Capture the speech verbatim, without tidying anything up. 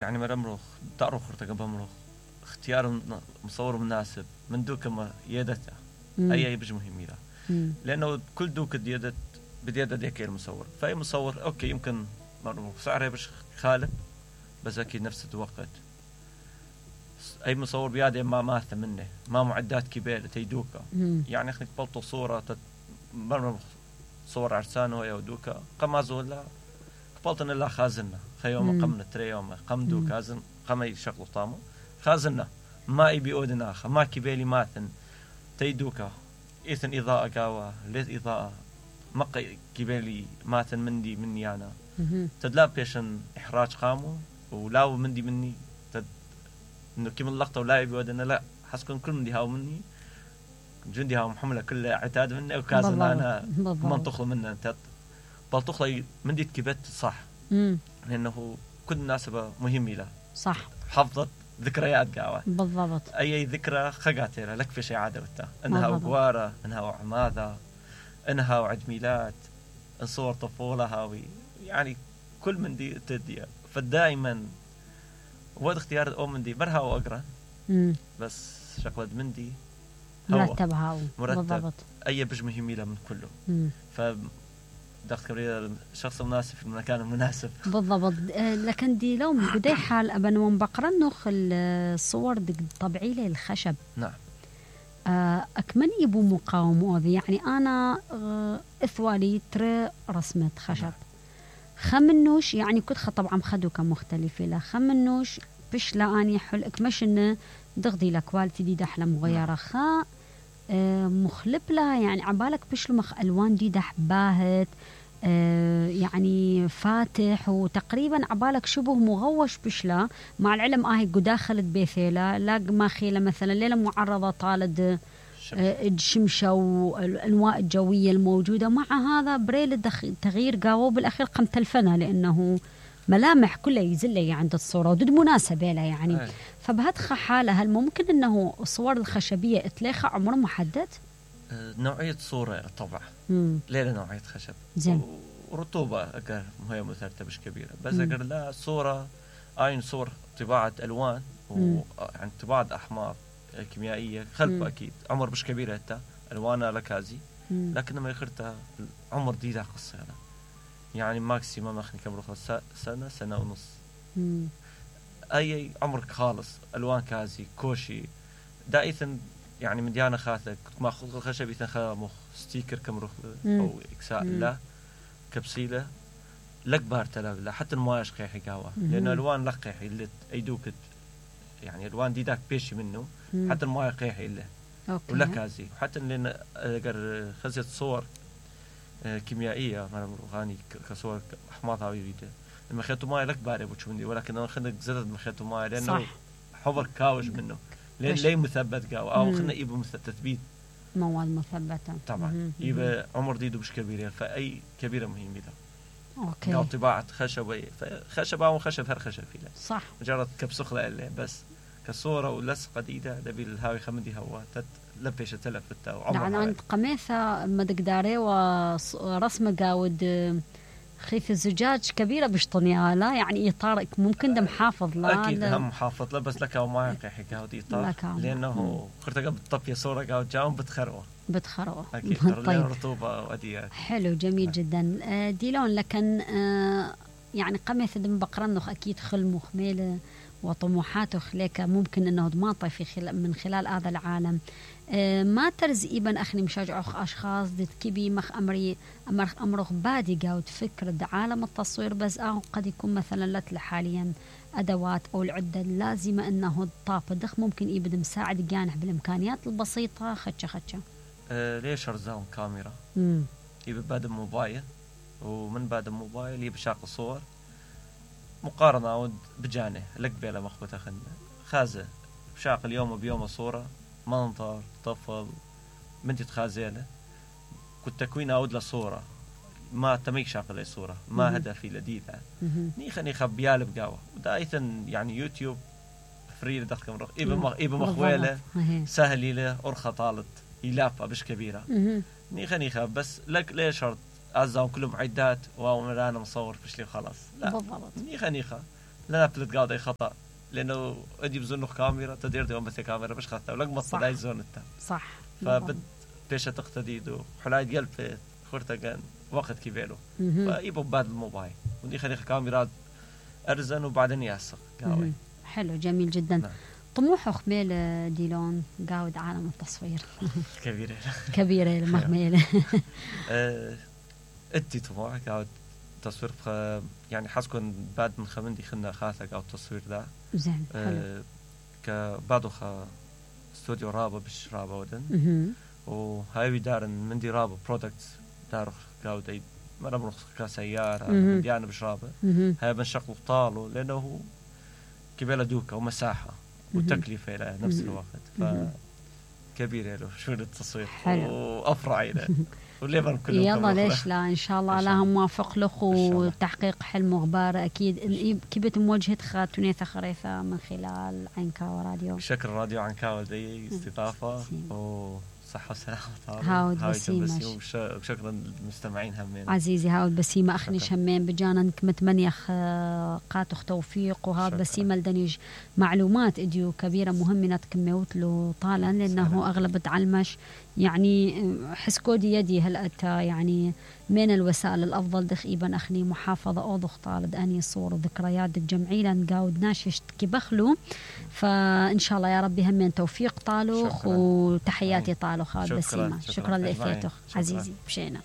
يعني مرمرخ تعرف خرطة بمرخ اختيار مصور مناسب من دوك ما يدته أي أي بج مهم له لأنه كل دوك ديدت بديدة ديك المصور فأي مصور أوكي يمكن مرمرخ سعره بش خالب بس أكيد نفس الوقت أي مصور بيادة ما ماثة منه ما معدات كبيرة تيدوكا يعني اخنك بلطو صورة تت... مرمرخ صور عرسانه يا دوكا قم زولا قبلتنا لا خازننا خيوم قمنا تري يوم قم دو كازن قم يشغلوا طامو خازننا ما يبي أودنا خ ما كبيلي ماثن تيدوكا إثن إضاءة قاوة ليت إضاءة ما كبيلي ماثن مندي مني أنا تدلاب بيشن إحراج قامو ولاو مندي مني تد إنه كم اللقطة ولا يبي أودنا لا حسكن كل مندي هاو مني جندي هاو محملة كل عتاد مني وكازن أنا منطقه منه أنت بلطخلي مندي كبت صح مم. لأنه كل مناسبة مهمة له صح حفظت ذكريات قاوة بالضبط أي ذكرى خقاتها لك في شيء عادبته إنها وقوارة إنها وعماذة إنها وعيد ميلاد صور طفولة هاوي يعني كل من دي تدي فدائما وقت اختيار الأم من دي برها وأقرأ بس شقلد من دي مرتب هاو مرتب بالضبط أي بج مهمة له من كله مم. ف دخل كبرية الشخص المناسب في المكان المناسب بالضبط. لكن دي لو بدي حال أبن ومبقرن نخ الصور طبيعية الخشب نعم أكمن يبو مقاومة يعني أنا إثوالي ترى رسمة خشب نعم. خمنوش يعني كنت طبعا خدو كمختلفة لا خمنوش بش لا أني حل أكمش إنه دغدي لكوالتي دي دحلة مغيرة نعم. خا مخلب لها يعني عبالك بش مخ ألوان دي دح باهت آه يعني فاتح وتقريبا عبالك شبه مغوش بشلا مع العلم آهي قداخلت بيثيلا لاق ما خيلة مثلا ليلة معرضة طالد آه الشمشة والأنواع الجوية الموجودة مع هذا بريل تغيير قاوة بالأخير قم تلفنا لأنه ملامح كلها يزلي عند الصورة ودد مناسبة لها يعني أي. فبهدخ حالة هل ممكن أنه الصور الخشبية اتلاخى عمر محدد؟ أه نوعية صورة طبعا ليلة نوعية خشب زين. ورطوبة أقر هي مثلثة مش كبيرة بس أقر لا صورة أين صور طباعة ألوان وعن طباعة أحماض كيميائية خلف أكيد عمر مش كبيرة حتى ألوانها لكازي لكن ما يخرتها عمر دي ذا قصة يعني. يعني ماكسيمم أخني كم رخص سنة سنة ونص مم. أي عمرك خالص ألوان كازي كوشي دائما يعني من ديانا خاثك ما خلق الخشب يتنخى مخ ستيكر كم رخ أو إكساء لا كبسيلة لك بارتلا لا حتى المواش قيحي قاوة لأنه ألوان لك قيحي اللي أيدوك يعني ألوان دي داك بيشي منه مم. حتى المواش قيحي إلا ولا كازي حتى لأن أقر خزيت صور كيميائية مرة غاني كصور أحماضها ويريده لما خيطوا ماي لك باري بتشوفني ولكن أنا خلنا زدت ما خيطوا ماي لأنه صح. حفر كاوش منه لين ليه مثبت قاو أو خلنا يبقى تثبيت مواد مثبتة طبعا يبقى عمر ديدو مش كبيرة فأي كبيرة مهمة ده أوكي قاو طباعة خشب خشب أو خشب هر خشب فيه صح مجرد كبسخلة اللي بس كصورة ولصقة ديدة دبي الهاوي خمدي هوا تت لبيش تلف التاو يعني عند قميثة مدقداري ورسمة قاود خيف الزجاج كبيرة بشطنيها لا يعني إطارك ممكن ده محافظ لا أكيد هم محافظ لا بس لك أو ما يقيح قاود إطار لأنه خرتك بتطفي صورة قاود جاهم بتخروه بتخروه أكيد طيب. رطوبة وأديات حلو جميل جدا ديلون لكن يعني قميثة دم بقرنخ أكيد خل مخميلة وطموحاته خليك ممكن أنه ضماطي في خلال من خلال هذا العالم أه ما ترز إبن أخني مشاجع أشخاص دت كبي مخ أمري أمر أمرخ بادي جاود فكرة عالم التصوير بس أو قد يكون مثلا لت حاليا أدوات أو العدة اللازمة أنه الطاقة دخ ممكن يبدأ مساعد جانح بالإمكانيات البسيطة خدشة خدشة أه ليش أرزاهم كاميرا يبقى بعد موبايل ومن بعد الموبايل يبقى شاق صور مقارنة بجانه لك بيلا مخبطة خلنا خازة بشاق اليوم وبيوم صورة منظر طفل بنتي تخازيله كنت تكوين أود لصورة ما تميك شاق لي صورة ما هدفي لديدة نيخا نيخا بيالب قاوة ودايثا يعني يوتيوب فري لدخل مرخ إيبا إيبا مخويلة سهل له أرخى طالت يلافة بش كبيرة نيخا نيخا بس لك ليه شرط أعزهم كلهم عدات ومرانا مصور فشلي خلاص لا بالضبط نيخا نيخا لا بلت قاعد اي خطا لانه ادي بزنه كاميرا تدير دي بس كاميرا مش خطا ولك مصداي زون انت صح فبد بيش تقتديدو حلايد قلب خورتا كان وقت كيبيلو فايبو بعد الموبايل ودي خلي كاميرات ارزن وبعدين ياسق قاوي حلو جميل جدا. نعم. طموح خميل ديلون قاود عالم التصوير كبيرة كبيرة مهملة ادي طموح قاود تصوير يعني حاسكن بعد من خمندي خلنا خاصة قاود تصوير ده زين حلو كبعده خا استوديو رابا بش رابا ودن وهاي دارن من دي رابا برودكتس دار قاود اي مرة بنخ كسيارة من انا بش رابا هاي بنشغل طاله لانه كبيرة دوكا ومساحة وتكلفة إلى نفس الوقت فكبيرة له شو التصوير وأفرع إلى وليبن كلهم يلا ليش لا إن شاء الله لها موافق لك وتحقيق حلم وغبار أكيد كبت مواجهة خاتونيثة خريثة من خلال عنكاوة راديو. شكر راديو عنكاوة دي استضافة وصحة وسلامة هاود بسيمة وشكرا للمستمعين همين عزيزي هاود بسيمة أخنيش همين بجانك متمنيخ قاتخ توفيق وهاود بسيمة لدنيج معلومات إديو كبيرة مهمة كميوت له طالا لأنه أغلب تعلمش يعني حس كودي يدي هل أتى يعني من الوسائل الأفضل دخيبا أخني محافظة أوضخ طالد أني صور ذكريات الجمعية نقاود ناشش كبخلو فإن شاء الله يا ربي همين توفيق طالوخ وتحياتي طالوخ هاد بسيمة. شكرا, شكرا لإثيتوخ عزيزي بشينا.